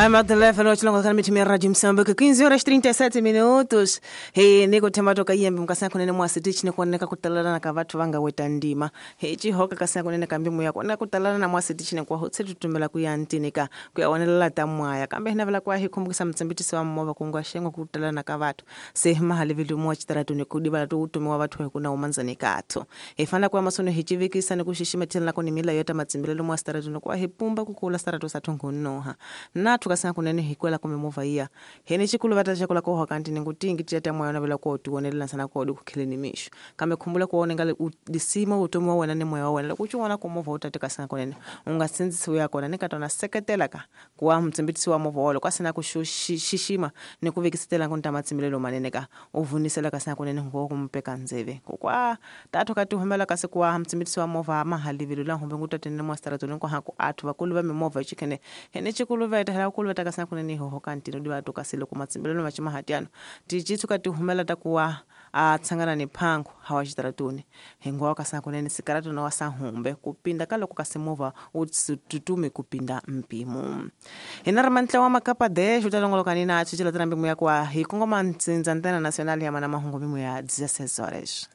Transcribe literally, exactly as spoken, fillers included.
Ai, telefone chilongo kana mithi mira Moçambique quinze horas trinta e sete minutos. He niko themba toka yembe mukasana kunene mwasiti chine kuoneka kutalana ka vathu vanga weta ndima. He chihoka kasana kunene kambi muya kuoneka kutalana na mwasiti chine kwa hotse tutumela kuya ntinika kuya onelela ta mwaya. Kambe hina vela kwa hi kumbukisa mtsambitisi wa mova kungwa shengo kutalana ka vathu. Se mahali vilu mwa chitaratu ni kudibala tu utumiwa vathu kuna umanzani katho. He fana kwa masono hichivikisa ni kushishima tena kuni mila yota matsimbilelo mwa staratu ni kwa hipumba kukula staratu satungunoha. Na tukasana kunene hikwela kumemova iya. Hene chikulu vata chakula kwa wakanti ningutingi tiyata mwa yona vela kwa utuonele sana kwa udu kukilini mishu. Kame kumbula kwa ngale udisima utumiwa wenane mwa wena. Kuchuwana kumova utatika sana kunene. Unga sinzi suya kona nikatona seketelaka kwa mtsimbitisi wa mova walo. Kwa sana kushishima ni kuvikisitela kunta matsimbilelo maneneka. Uvunisela kasana kunene kwa kumpeka nzeve. Kwa tatu katuhumela kasi kwa mtsimbitisi wa mova mahali vilula humbe ngutatene mwa staratu kwa haku atu wakulu mova chikene. Hene chikulu veta hela kulu veta kasana kunene hoho kantino diwa tukasilo kumatsimbilelo machima hatiano. Tichitu katuhumela takuwa atsangana ni pangu hawachitaratuni. Hengwa kasana kunene sikaratu na wasahumbe kupinda kalo kukasimova ututume kupinda mpimo. Hinara wa makapa de shutalongolo kanina achichila tena mbimu ya kwa hikongo mantsinza ntena nacional ya mana mahungo mimu ya dezesseis horas.